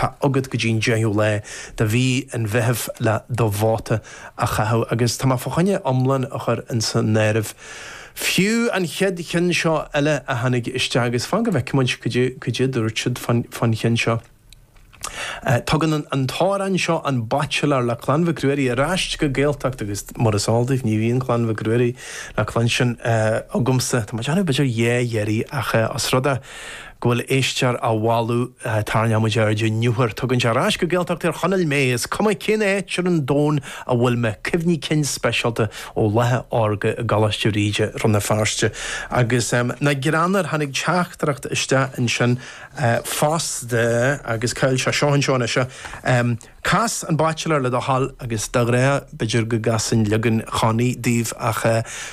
Tá agat go dtí an 10ú lá de mhí an Mheithimh le do vóta a chaitheamh agus tá mé fá choinne iomlán a chur ins an áireamh. Fiú an chéad cheann seo eile a tháinig isteach agus fan go bhfeicfidh muid cad é a dúirt siad fán cheann seo. Tugann an t-amhrán seo An Baitsiléir le Clann Mhic Ruairí ar ais go Gaeltacht agus mar is eol daoibh ní bhíonn Clann Mhic Ruairí le cluinstin agamsa, tá mé ag déanamh b'fhéidir dhá iarraidh ach os rud é go bhfuil éisteoir á mholadh tarraingeoidh muid aird an uair. Tugann sé ar ais go Gaeltacht Thír Chonaill mé, is cuma cén áit ar an domhan a bhfuil mé, cuimhní cinn speisialta ó laetha órga i gColáiste Bhríde, Rann na Feirste. Agus nach greannmhar, tháinig teachtaireacht isteach ansin fosta agus cá bhfuil sé seo anseo anois. Cas an Baitsiléir le do thoil agus de ghnáth b'fhéidir go gcasfainn leagan Chonnie daoibh ach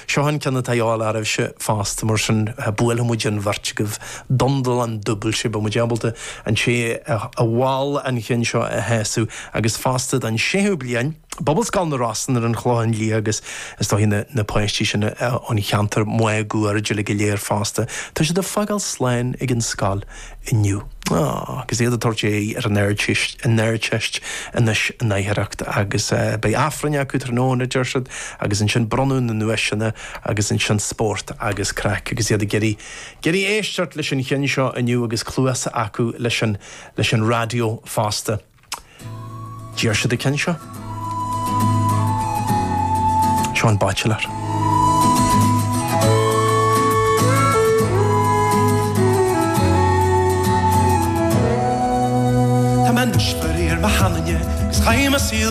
seo an ceann atá a dhíobháil oraibhse fosta mar sin buailfidh muid an bheirt agaibh dundalán dúbailte beidh muid ábalta an té a mhol an cheann seo a shásamh agus fosta don séú bliain Pobalscoil na Rosann ar an Chlochán Liath agus is dóigh na na páistí sin ón cheantar máguaird uilig go léir fosta. Tá siad ag fágáil slán ag an scoil inniu. Aww, agus iad ag tabhairt aghaidh ar an Ardteist, an Ardteist anois in oidhreacht agus beidh Aifreann acu tráthnóna a deir siad agus ansin bronnadh na nduaiseanna agus ansin spórt agus craic agus iad ag iarraidh iarraidh éisteacht leis an cheann seo inniu agus cluasa acu leis an leis an raidió fosta. D'iarr siad an ceann seo. Seo an Baitsiléir. Tá mé anois faraor mo sheanduine 'gus chaith mo saol.